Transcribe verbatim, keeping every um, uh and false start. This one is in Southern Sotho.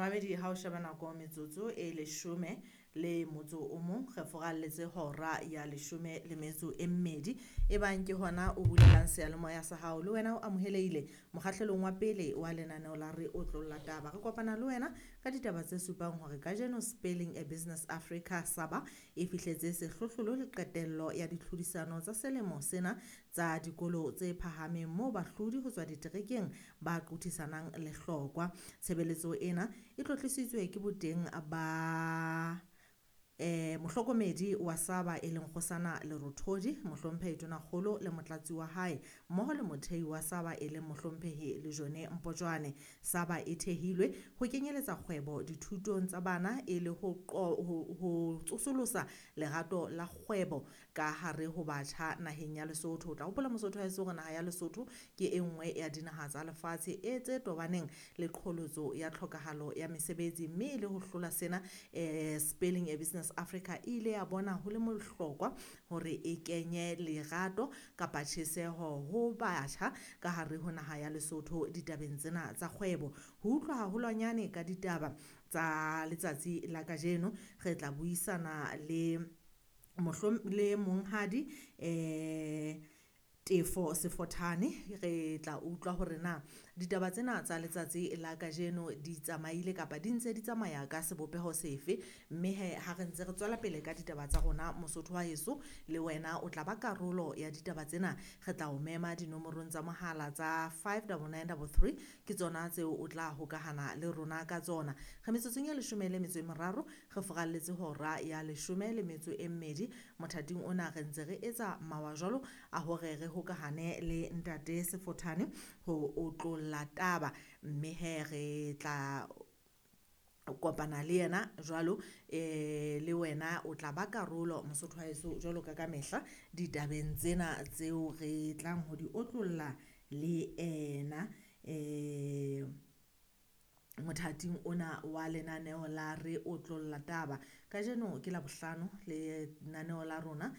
Mamedi, ha o sheba nako, metsotso e leshome le motso o mong re foralletse hora ya leshome le metso e mmedi. E bang ke hona o bulelang seyalemoya sa hao, le wena o amohelehile mokgahlelong wa pele wa lenaneo la Re Otlolla Taba. Re kopana le wena ka ditaba tse supang hore kajeno Spelling a Business Africa Saba e fihletse sehlohlolo le qetello ya ditlhodisano tsa selemo sena tsa dikolo tse phahameng, moo bahlodi ho tswa diterekeng ba qothisanang lehlokwa. Tshebeletso ena e tlotlisitswe ke boteng ba eh mohlokomedi wa Saba e leng Kgosana Lerothodi, mohlomphehi Tonakgolo le motlatsi wa hae, mmoho le mothehi wa Saba e leng mohlomphehi Lejone Mpotjwane. Saba e thehilwe ho kenyeletsa kgwebo dithutong tsa bana e le ho ho, ho tsosolosa lerato la kgwebo ka hare ho batjha naheng ya Lesotho. O tla hopola, Mosotho wa heso, hore naha ya Lesotho ke e nngwe ya dinaha tsa lefatshe e tse tobaneng le qholotso ya tlhokahalo ya mesebetsi, mme e le ho hlola sena, eh Spelling a Business Africa e ile ya bona ho le bohlokwa hore e kenye lerato kapa tjheseho ho batjha ka hare ho naha ya Lesotho ditabeng tsena tsa kgwebo. Ho utlwa haholwanyane ka ditaba tsa letsatsi la kajeno, re tla buisana le mohlom le monghadi eh Tefo Sefothane. Re tla utlwa hore na ditaba tsena tsa letsatsi la kajeno di tsamaile kapa di ntse di tsamaya ka sebopeho sefe. Mme he ha re ntse re tswela pele ka ditaba tsa rona, Mosotho wa heso, le wena o tla ba karolo ya ditaba tsena. Re tla o mema dinomorong tsa mohala tsa five double nine double three, ke tsona tseo o tla hokahana le rona ka tsona. Re metsotsong e leshome le metso e meraro re foralletse hora ya leshome le metso e mmedi. Mothating ona re ntse re etsa mawa jwalo a hore re hokahane le ntate Sefothane ho otlolla taba, mme he re tla kopana le yena jwalo. eh Le wena o tla ba karolo, Mosotho wa heso, jwalo ka ka mehla ditabeng tsena tseo re tlang ho di otlolla le ena eh mothating ona wa lenaneo la Re Otlolla Taba. Kajeno ke Labohlano, lenaneo la rona.